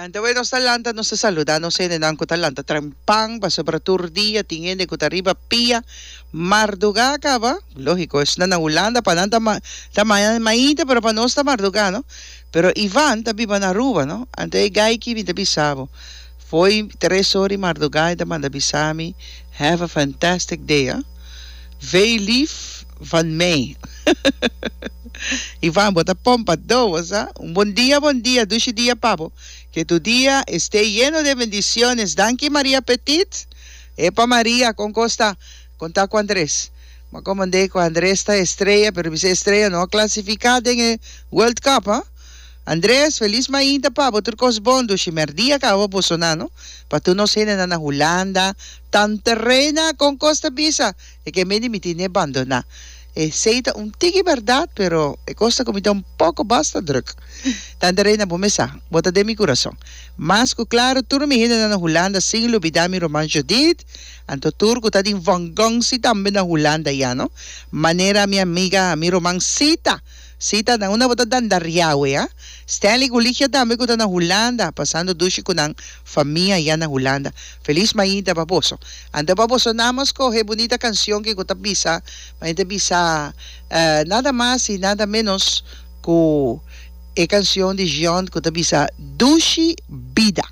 Anto we nos ta lanta, nos ta saluda nos hendenan ku ta lanta trempan, pasobra tur dia tin hende ku ta riba pia mardugá kaba. Lógiko, esnan na Hulanda pa nan ta ta mainta, pero pa nos ta mardugá, no? Pero Ivan ta biba na Aruba, no? Anto e gai ki mi ta bisa bo, fo'i tres ora di mardugá e ta manda bisa mi, Have a fantastic day, ah. Veel lief van mij. Ivan, bo ta pompa do, bo sa. Un bon dia, bon dia, dushi dia pa bo. Que tu dia esté lleno de bendiciones. Danki Maria Petit. Epa Maria, con cos ta? Con ta cu Andres? Bo a comandé cu Andres ta estrella, pero bisa estrella no a clasifica den e World Cup, ha? Andres, felis mainta pa bo, tur cos bon, dushi merdia caba bo sona, no? Pa tur nos hendenan na Hulanda, Tante Reina, con cos ta bisa? E ke mende mi tine bandona. Esey ta un tiki berdad, pero e cos ta cu mi ta un poco basta druk. Tante Reina, bo mes sa, bo ta den mi curason. Mas cu claro, tur mi hendenan na Hulanda, sin lubida mi ruman Judith, anto tur cu ta din vongonsi tambe na Hulanda ya, no? Manera mi amiga, mi ruman Sita. Sita, na unda bo ta dandariawe, ha? Stanley ku Ligia tambe ku ta na Hulanda, pasando dushi ku nan famia ya na Hulanda. Felis mainta pa boso. Anto pa boso nan a skohe bunita kansion ke ku ta bisa, ma e ta bisa nada mas i nada menos ku e kansion di Jean ku ta bisa Dushi Bida.